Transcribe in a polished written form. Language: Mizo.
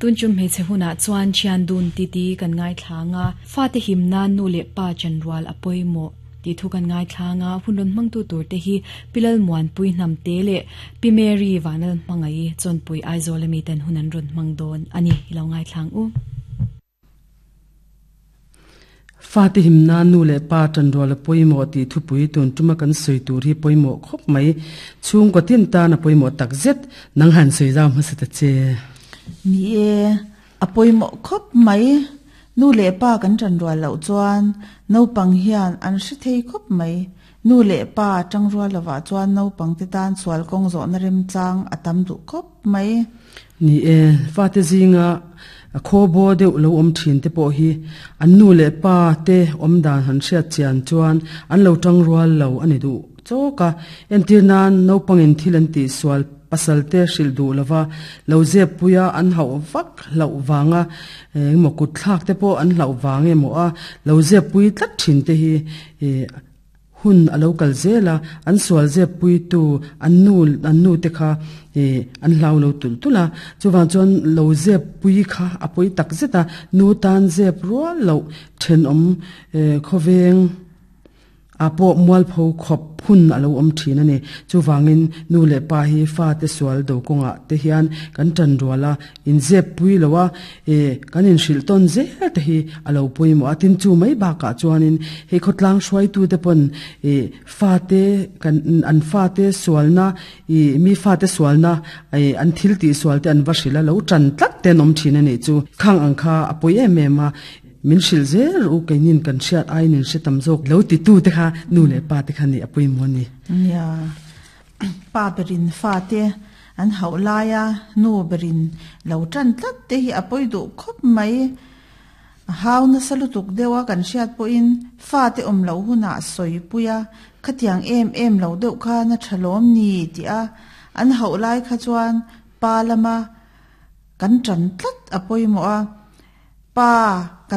Tun tum hmeichhe hunah chuan thian dun titi kan ngaithla ang a, fate him nan nu leh pa chanrual a pawimawh tih thu kan ngaithla ang a, hun rawn hmangtu tur te hi Pi Lalmuanpui Hnamte leh Pi Mary Vanal Hmangaih Chawnpui Aizawl ami ten hun an rawn hmang dawn a ni. I lo ngaithla ang u. Fate himna nu leh pa ṭanrual a pawimawh tih thupui tun ṭuma kan sawi tur hi pawimawh khawp mai. Chhungkaw tin tan a pawimawh tak zet. Nang han sawi zau hmasa ta che. Ni e, a pawimawh khawp mai. Nu leh pa kan ṭanrual loh chuan naupang hian an hre thei khawp mai. Nu leh pa ṭangrual lovah chuan naupangte tan sual kawng zawhna remchang a tam duh khawp mai. Ni e, fate zinga khaw baw deuh lo awm thin te pawh hi an nu leh pa te awm dan han hriat chian chuan an lo tang rual lo a ni duh chawk a. Entir nan naupangin thil an tih sual pasal te hrilh duh lova lo zep puia an hauh vak hlauh vanga engemaw kut thlak te pawh an hlauh vang emaw a lo zep pui tlat thin te hi Hun a lo kal zel a, an sual zep puitu an nu an nu te kha ih an hlau lo tulh tulh a, chuvang chuan lo zep pui kha a pawi tak zet a, nu tan zep rual loh thenawm eh khawveng ah pawh mualpho khawp hun a lo awm thin a ni. Chuvangin nu leh pa hi fate sual do kawngah te hian kan tan rual a, inzep pui lo a, E, kan inhrilh tawn zel te hi a lo pawimawh a, tin chu mai bakah chuanin hei khawtlang hruaitute pawn e fate kan an fate sualna i mi fate sualna e an thil tih sual te an va hrilh a, lo tan tlat te an awm thin a nih chu. Khang ang kha a pawi em em a, min hrilh zel rawh u, keinin kan hriat aiin in hre tam zawk lo titu te kha nu leh pa te kha nih a pawimawh a ni. Nia, Pa berin fate an hauh laia nu berin lo tan tlat te hi a pawi duh khawp mai. A hau nasa lutuk deuh a kan hriat pawhin fate awm loh hunah sawi pui a, khatiang em em lo deuh khan a tha lawm ni tih a an hauh lai kha chuan pa lama kan tan tlat a pawimawh a, pa kan.